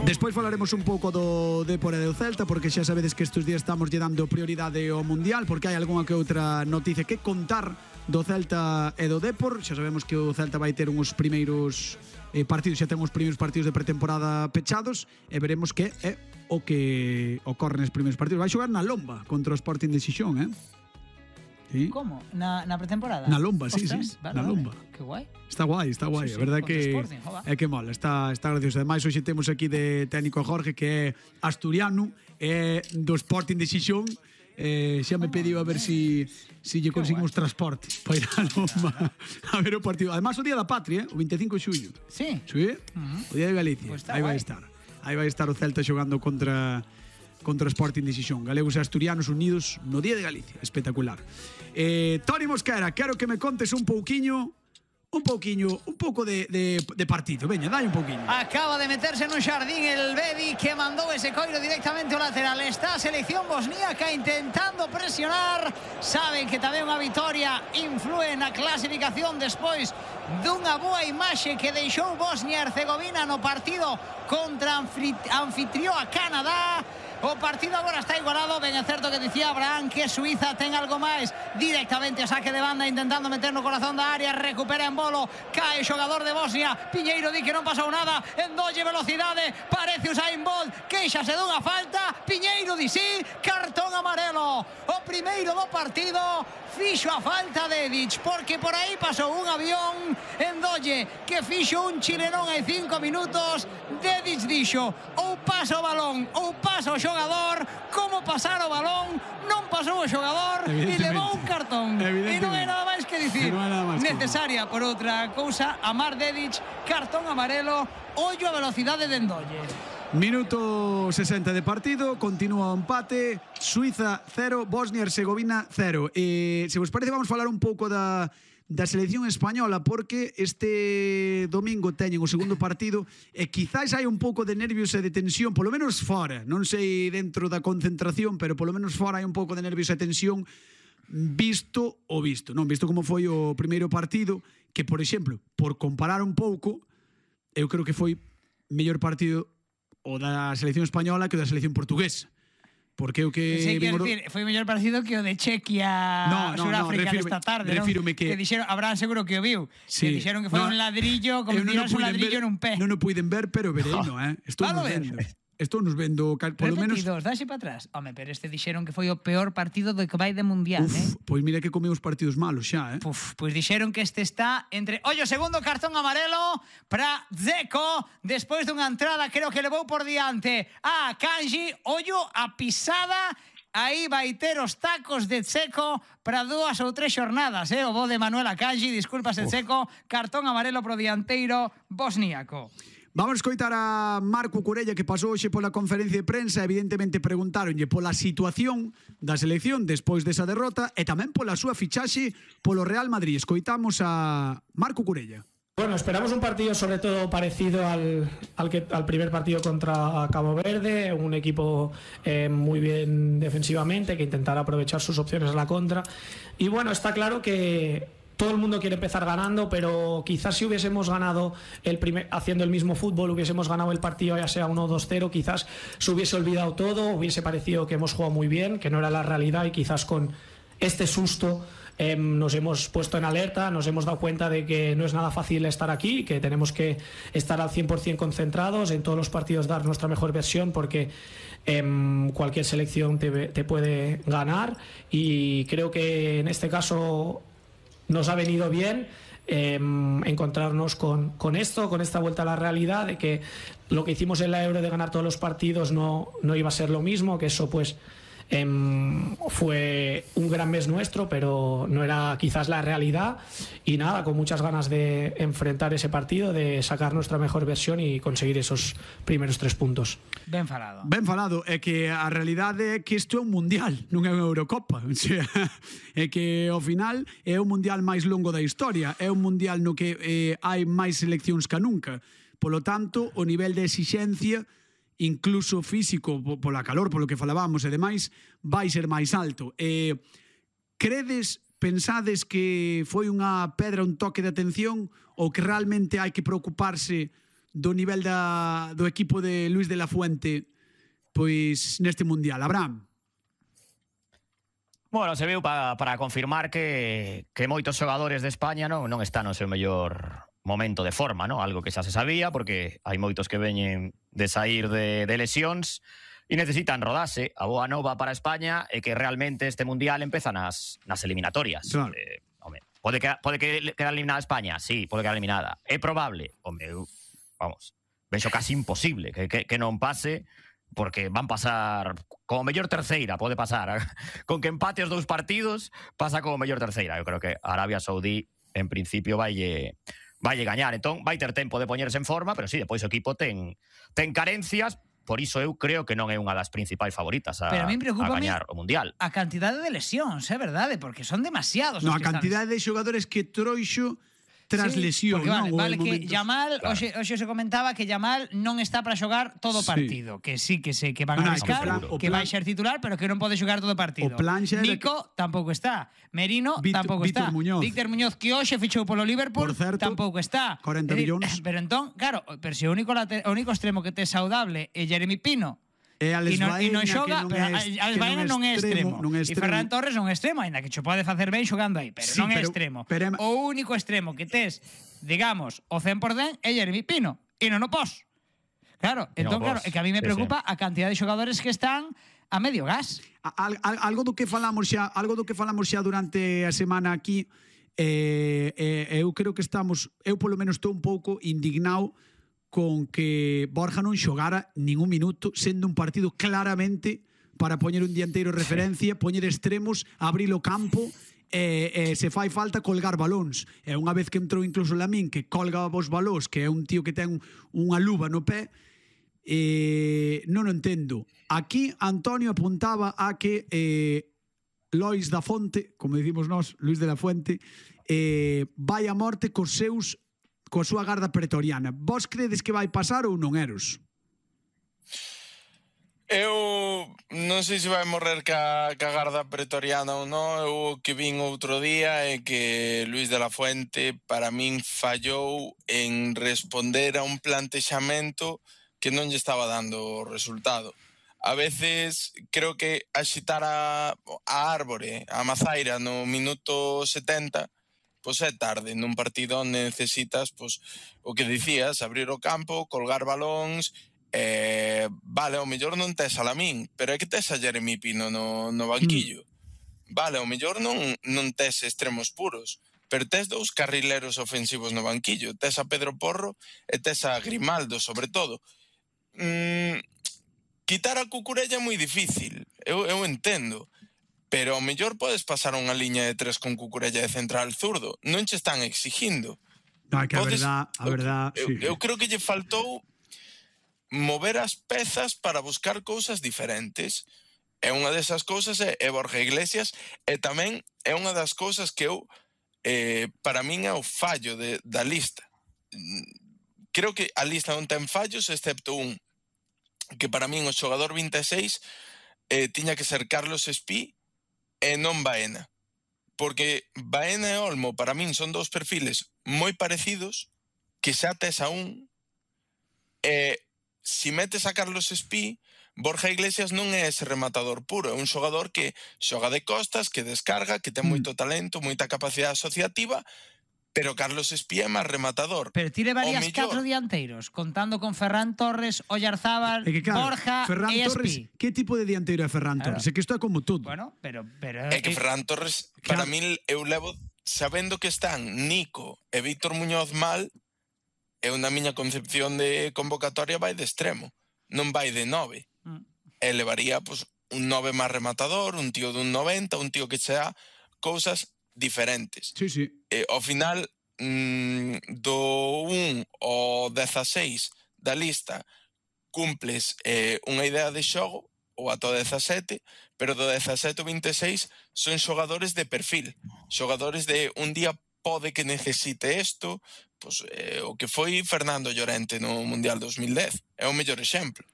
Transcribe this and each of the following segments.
Despois falaremos un pouco do Depor e do Celta, porque xa sabedes que estes días estamos lle dando prioridade ao Mundial, porque hai algunha que outra noticia que contar do Celta e do Depor. Xa sabemos que o Celta vai ter uns primeiros partidos, xa ten os primeiros partidos de pretemporada pechados, e veremos que é o que ocorre nos primeiros partidos. Vai xogar na Lomba contra o Sporting de Xixón, ¿Sí? ¿Cómo? ¿Na pretemporada? Na Lomba, sí, sí, na Lomba. Que guai. Está guai, está guai. Sí, A verdade que Sporting, é que mola, está gracioso. Ademais, hoxe temos aquí de técnico a Jorge, que é asturiano, é do Sporting de Xixón. Xa me pediu a ver si lle conseguimos transporte para ir a Lomba a ver o partido. Ademais, o Día da Patria, o 25 de xullo. Sí? Sí, o Día de Galicia. Pues aí vai estar. Aí vai estar o Celta xogando contra o Sporting de Xixón. Galegos e asturianos unidos no Día de Galicia. Espectacular. Toni Mosquera, quero que me contes un pouco de partido. Veña, dai un pouquiño. Acaba de meterse nun xardín el Bedi, que mandou ese coiro directamente ao lateral. Está a selección bosníaca intentando presionar. Saben que tamén unha vitoria influe na clasificación despois dunha boa imaxe que deixou Bosnia e Herzegovina no partido contra anfitrió a Canadá. O partido agora está igualado. Ben é certo que dicía Abraham que Suiza ten algo máis. Directamente a saque de banda, intentando meter no corazón da área. Recupera en bolo, cae o xogador de Bosnia. Piñeiro di que non pasou nada. Endolle velocidade, parece Usain Bolt. Queixase dunha falta. Piñeiro di sí, cartón amarelo. O primeiro do partido. Fixo a falta de Edic, porque por aí pasou un avión. Endolle que fixo un chilenón hai 5 minutos. Dedic dixo ou pasa o balón ou pasa o xogador. Como pasar o balón, non pasou o xogador e levou un cartón. E non hai nada máis que dicir. Necesaria por outra cousa, Amar Dedic, cartón amarelo. Ollo a velocidade de Endolle. Minuto 60 de partido, continúa o empate. Suiza 0, Bosnia e Herzegovina 0. Se vos parece, vamos falar un pouco da selección española, porque este domingo teñen o segundo partido e quizás hai un pouco de nervios e de tensión, polo menos fora, non sei dentro da concentración, pero polo menos fora hai un pouco de nervios e tensión visto como foi o primeiro partido, que, por exemplo, por comparar un pouco, eu creo que foi mellor partido o da selección española que o da selección portuguesa. Porque o que... Sí, quero dicir, foi mellor parecido que o de Chequia Suráfrica desta tarde, non? Que dixeron, Abraham seguro que o viu, que dixeron que foi un ladrillo, como tirarse un ladrillo nun pé. Non o puiden ver, pero vereino, Estou nos vendo, polo menos... Repetidos, dáse para atrás. Home, pero este dixeron que foi o peor partido do que vai de Mundial, Pois mira que comeu os partidos malos xa, Pois dixeron que este está entre... Ollo, segundo cartón amarelo para Dzeko, despois dunha entrada, creo que levou por diante a Kanji. Ollo a pisada. Aí vai ter os tacos de Dzeko para 2 ou 3 xornadas, O bo de Manuel Akanji, disculpas, Dzeko, cartón amarelo pro dianteiro bosníaco. Vamos a escoitar a Marco Curella, que pasou hoxe pola conferencia de prensa. Evidentemente preguntaronlle pola situación da selección despois desa derrota e tamén pola súa fichaxe polo Real Madrid. Escoitamos a Marco Curella. Bueno, esperamos un partido sobre todo parecido al primer partido contra Cabo Verde, un equipo muy bien defensivamente, que intentará aprovechar sus opciones a la contra. Y bueno, está claro que todo el mundo quiere empezar ganando, pero quizás si hubiésemos ganado haciendo el mismo fútbol, hubiésemos ganado el partido ya sea 1 o 2-0, quizás se hubiese olvidado todo, hubiese parecido que hemos jugado muy bien, que no era la realidad, y quizás con este susto nos hemos puesto en alerta, nos hemos dado cuenta de que no es nada fácil estar aquí, que tenemos que estar al 100% concentrados, en todos los partidos dar nuestra mejor versión, porque cualquier selección te puede ganar, y creo que en este caso nos ha venido bien encontrarnos con esto, con esta vuelta a la realidad, de que lo que hicimos en la Euro de ganar todos los partidos no iba a ser lo mismo, que eso pues fue un gran mes nuestro, pero no era quizás la realidad, y nada, con muchas ganas de enfrentar ese partido, de sacar nuestra mejor versión y conseguir esos primeros 3 puntos. Ben falado. Ben falado, é que a realidade é que isto é un mundial, non é unha Eurocopa. O sea, é que ao final é o mundial máis longo da historia, é un mundial no que hai máis seleccións que nunca. Polo tanto, o nivel de exixencia, incluso físico, pola calor, polo que falábamos e demais, vai ser máis alto. Pensades que foi unha pedra, un toque de atención, ou que realmente hai que preocuparse do nivel do equipo de Luis de la Fuente pois neste Mundial. Abraham. Bueno, se viu para confirmar que moitos xogadores de España non están no seu mellor momento de forma, ¿no? Algo que xa se sabía, porque hai moitos que veñen de sair de lesións e necesitan rodarse. A boa nova para España é que realmente este Mundial empeza nas eliminatorias. Claro. Home, pode quedar eliminada España? Sí, pode quedar eliminada. É probable? Home, vamos, vexo casi imposible que non pase, porque van pasar como mellor terceira, pode pasar. Con que empate os 2 partidos, pasa como mellor terceira. Eu creo que Arabia Saudí, en principio, vaille gañar. Entón, vai ter tempo de poñerse en forma, pero sí, depois o equipo ten carencias. Por iso eu creo que non é unha das principais favoritas a gañar o Mundial. A cantidade de lesións, é verdade, porque son demasiados. No, a cantidade de xogadores que trouxo tras lesión, non? Vale, que momentos... Yamal, claro. Hoxe se comentaba que Yamal non está para xogar todo o partido, que sí que sei que van a arriscar, que vai ser titular, pero que non pode xogar todo o partido. Nico tampouco está, Merino tampouco está, Víctor Muñoz, que hoxe fichou polo Liverpool, tampouco está. 40 millóns. Pero entón, claro, pero se o único extremo que te saudable é Jeremy Pino, e non xoga, Alex Baena non é extremo. E Ferran Torres non é extremo, ainda que xo pode facer ben xogando aí, pero non é extremo. O único extremo que tes, digamos, o 100% é Jeremy Pino, e non o pos. Claro, entón, claro, é que a mí me preocupa a cantidad de xogadores que están a medio gas. Algo do que falamos xa durante a semana aquí, eu creo que eu polo menos estou un pouco indignado con que Borja non xogara ningún minuto, sendo un partido claramente para poñer un dianteiro referencia, poñer extremos, abrir o campo, se fai falta colgar balóns. E unha vez que entrou incluso Lamín, que colga os balóns, que é un tío que ten unha luva no pé, non o entendo. Aquí Antonio apuntaba a que Lois da Fonte, como dicimos nós, Luis de la Fuente, vai a morte coa súa garda pretoriana. Vos credes que vai pasar ou non, Eros? Eu non sei se vai morrer ca garda pretoriana ou non. Eu que vin outro día é que Luis de la Fuente para min fallou en responder a un plantexamento que non lle estaba dando resultado. A veces creo que axitar a árbore, a mazaira no minuto 70, pois é tarde nun partido onde necesitas, pois, o que dicías, abrir o campo, colgar balóns, vale, ao mellor non tes a Lamín, pero é que tes a Jeremy Pino no banquillo. Vale, ao mellor non tes extremos puros, pero tes 2 carrileros ofensivos no banquillo, tes a Pedro Porro e tes a Grimaldo, sobre todo. Quitar a Cucurella é moi difícil, eu entendo, pero ao mellor podes pasar unha liña de 3 con Cucurella de central zurdo. Non che están exigindo. No, que a verdad, sí. Eu creo que lle faltou mover as pezas para buscar cousas diferentes. E unha desas cousas é Borja Iglesias, e tamén é unha das cousas que eu, para min é o fallo da lista. Creo que a lista non ten fallos, excepto un, que para min o xogador 26 tiña que ser Carlos Espí, e non Baena, porque Baena e Olmo para min son 2 perfiles moi parecidos, que xa tes a un, e si metes a Carlos Espí, Borja Iglesias non é ese rematador puro, é un xogador que xoga de costas, que descarga, que ten moito talento, moita capacidade asociativa, pero Carlos Espí é máis rematador. Pero ti levarías 4 dianteiros, contando con Ferran Torres, Oyarzábal, Borja e Espí. Que tipo de dianteiro é Ferran Torres? É que isto é como todo. Bueno, pero é que Ferran Torres, para min, eu levo sabendo que están Nico e Víctor Muñoz mal, é unha miña concepción de convocatoria vai de extremo, non vai de 9. E levaría pues, un 9 máis rematador, un tío dun 90, un tío que sea cousas diferentes. Sí, sí. Ao final, do 1 ao 16 da lista, cumples unha idea de xogo, ou ata o 17, pero do 17 ao 26 son xogadores de perfil, xogadores de un día pode que necesite isto, pues, o que foi Fernando Llorente no Mundial 2010, é o mellor exemplo.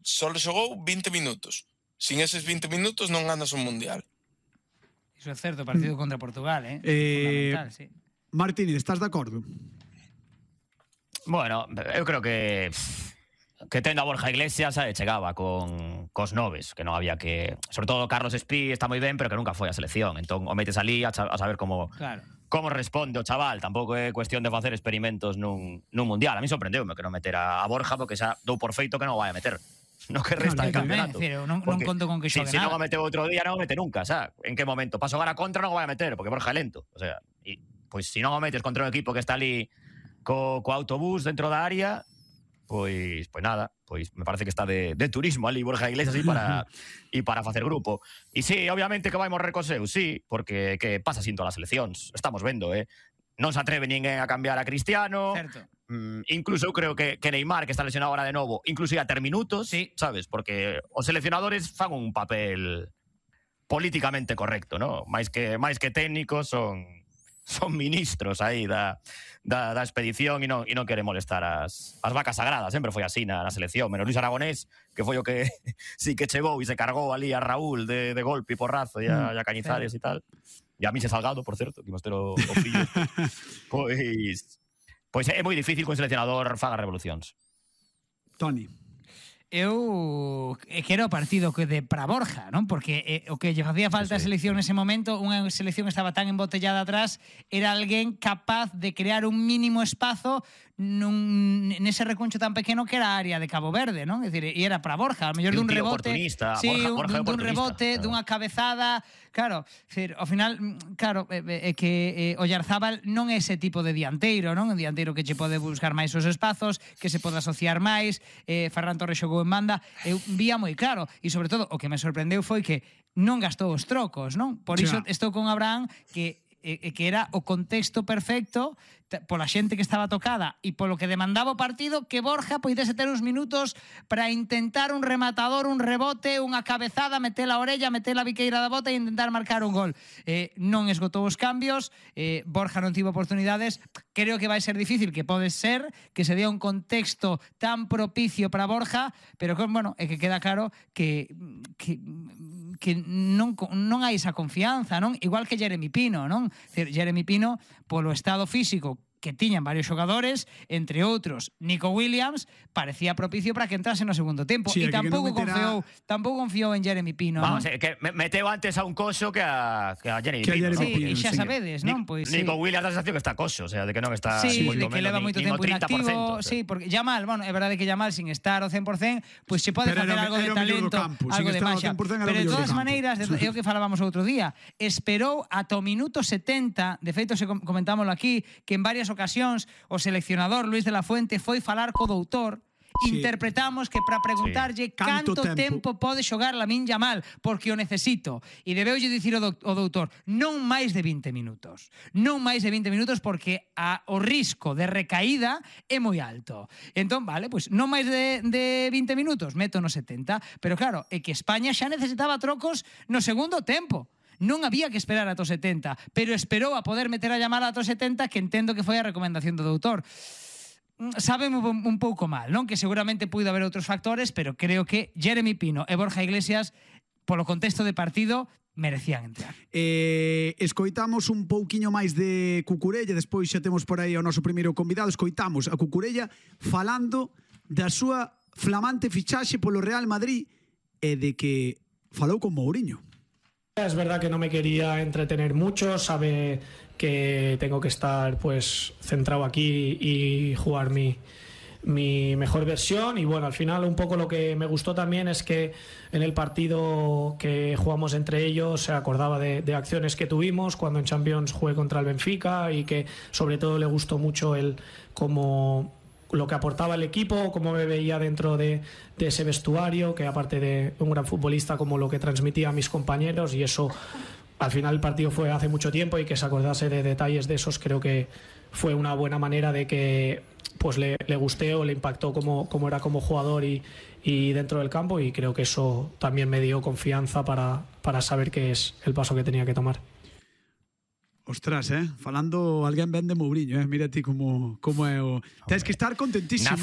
Só xogou 20 minutos. Sin eses 20 minutos non ganas un Mundial. Iso é certo, partido contra Portugal, fundamental, sí. Martínez, estás de acordo? Bueno, eu creo que tendo a Borja Iglesias chegaba cos noves, que non había que... Sobre todo Carlos Espí está moi ben, pero que nunca foi a selección. Entón, o metes ali a saber como responde o chaval. Tampouco é cuestión de facer experimentos nun mundial. A mí sorprendeume que non meter a Borja, porque xa dou por feito que non o vai a meter no que resta de campeonato. Non conto con que xogue nada. Se non o nada. meteu outro día, non o mete nunca, xa. En que momento? Para xogar a contra non o vai a meter, porque Borja é lento. O sea, pois se non o metes contra un equipo que está ali co autobús dentro da área, pois nada, pois me parece que está de turismo ali Borja Iglesias e para facer grupo. E sí, obviamente que vai morrer co seu, sí, porque que pasa sin todas as seleccións. Estamos vendo, non se atreve ninguén a cambiar a Cristiano. Certo. Incluso eu creo que Neymar, que está lesionado ahora de novo, incluso ia ter minutos, sí, sabes? Porque os seleccionadores fan un papel políticamente correcto, ¿no? Máis que técnicos son ministros aí da expedición e non quere molestar as vacas sagradas. Sempre foi así na selección, menos Luis Aragonés, que foi o que sí que chegou e se cargou ali a Raúl de golpe e porrazo e a Cañizares e tal. E a mí se Salgado, por certo, que imos ter o fillo. Pois é moi difícil que un seleccionador faga revolucións. Toni. Eu quero o partido que de para Borja, non? Porque o que lle facía falta a selección nese momento, unha selección que estaba tan embotellada atrás, era alguén capaz de crear un mínimo espazo nese reconcho tan pequeno que era a área de Cabo Verde, non? É dicir, e era para Borja, ao mellor dun rebote, Borja dun rebote, dunha cabezada, claro, ao final, claro, é que Oyarzábal non é ese tipo de dianteiro, non? Un dianteiro que che pode buscar máis os espazos, que se pode asociar máis. Ferran Torres xogou en banda, eu vía moi claro, e sobre todo o que me sorprendeu foi que non gastou os trocos, non? Por iso estou con Abraham, que era o contexto perfecto pola xente que estaba tocada e polo que demandaba o partido, que Borja poidese ter uns minutos para intentar un rematador, un rebote, unha cabezada, meter a orella, meter a biqueira da bota e intentar marcar un gol. Non esgotou os cambios, Borja non tivo oportunidades. Creo que vai ser difícil, que pode ser que se dé un contexto tan propicio para Borja, pero bueno, é que queda claro que non hai esa confianza, non? Igual que Jeremy Pino, non? Jeremy Pino, polo estado físico que tiñan varios xogadores, entre outros Nico Williams, parecía propicio para que entrase no segundo tempo, e tampouco confiou en Jeremy Pino. Vamos, que meteu antes a un coxo que a Jeremy Pino. Sí, xa sabedes, non? Nico Williams da sensación que está coxo, o sea, de que non está... Sí, de que leva moito tempo inactivo. Sí, porque Yamal, bueno, é verdade que Yamal sin estar ao 100%, pois se pode facer algo de talento, algo de maxa. Pero de todas maneiras, é o que falábamos outro día, esperou ata o minuto 70, de feito se comentámoslo aquí, que en varias ocasións o seleccionador Luis de la Fuente foi falar co doutor. Interpretamos que para preguntarlle canto tempo pode xogar Lamine Yamal, porque o necesito. E debeulle dicir o doutor, non máis de 20 minutos. Non máis de 20 minutos, porque o risco de recaída é moi alto. Entón, vale, pois non máis de 20 minutos, meto no 70. Pero claro, é que España xa necesitaba trocos no segundo tempo. Non había que esperar ata o 70, pero esperou a poder meter a Yamal ata o 70, que entendo que foi a recomendación do doutor. Sábeme un pouco mal, non? Que seguramente puido haber outros factores, pero creo que Jeremy Pino e Borja Iglesias, polo contexto de partido, merecían entrar. Escoitamos un pouquiño máis de Cucurella, despois xa temos por aí o noso primeiro convidado. Escoitamos a Cucurella falando da súa flamante fichaxe polo Real Madrid e de que falou con Mourinho. Es verdad que no me quería entretener mucho, sabe que tengo que estar pues centrado aquí y jugar mi mejor versión. Y bueno, al final un poco lo que me gustó también es que en el partido que jugamos entre ellos se acordaba de acciones que tuvimos cuando en Champions jugué contra el Benfica, y que sobre todo le gustó mucho el cómo lo que aportaba el equipo, cómo me veía dentro de ese vestuario, que aparte de un gran futbolista, como lo que transmitía a mis compañeros, y eso al final el partido fue hace mucho tiempo, y que se acordase de detalles de esos creo que fue una buena manera de que pues le gusté o le impactó como era como jugador y dentro del campo, y creo que eso también me dio confianza para saber qué es el paso que tenía que tomar. Ostras, falando alguén ben de Mourinho, mira ti como é o... Tens que estar contentísimo.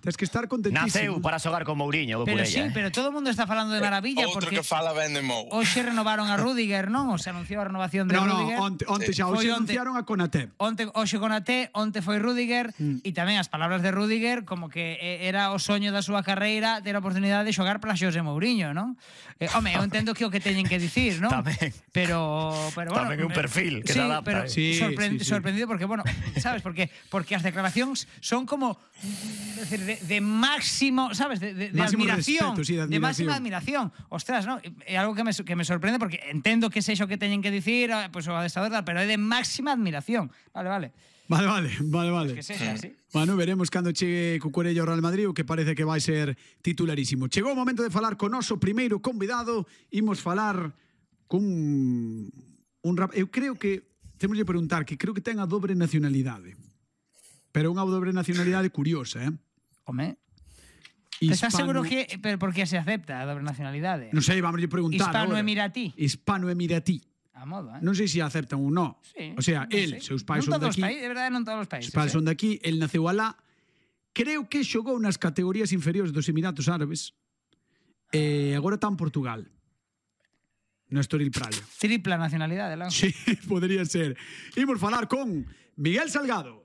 Tens que estar contentísimo. Naceu para xogar con Mourinho, Pero por sí, ella. pero todo o mundo está falando de maravilla Outro porque que fala ben de Mou. hoxe renovaron a Rüdiger, non? O se anunciou a renovación de No, Rüdiger. onte xa. Hoxe Foi onte. anunciaron a Konaté. Hoxe con Ate, onte foi Rüdiger e tamén as palabras de Rüdiger como que era o soño da súa carreira ter a oportunidade de xogar para Xosé Mourinho, non? Home, eu entendo que o que teñen que dicir, non? Tamén. Pero bueno, Tamén é un perfil que sí, se adapta. Pero Sí, sí. sorprendido porque, bueno, sabes, porque as declaracións son como decir, de máximo, sabes, de Máximo admiración, respeto, sí, de máxima admiración. Ostras, ¿no? É algo que me sorprende porque entendo que sexo que teñen que dicir, pues o adestrador, pero é de máxima admiración. Vale. Vale. Que sexa así. Bueno, veremos cando chegue Cucurella ao Real Madrid, o que parece que vai ser titularísimo. Chegou o momento de falar con noso primeiro convidado. Imos falar cun eu creo que temos de preguntar que creo que ten a dobre nacionalidade. Pero unha dobre nacionalidade curiosa, Home, estás seguro que pero por que se acepta a doble nacionalidade? Non sei, vamos a preguntar. Hispano-emiratí. Hispano-emiratí. A modo, Non sei se aceptan ou non. Sí, O sea, non el, sei. seus pais Non son todos os daqui. países, de verdade, non todos os países. Os pais son daqui, el naceu alá. Creo que xogou nas categorías inferiores dos Emiratos Árabes. E agora está en Portugal. No Estoril Praia. Tripla nacionalidade, Lan. Sí, podría ser. Imos falar con Miguel Salgado.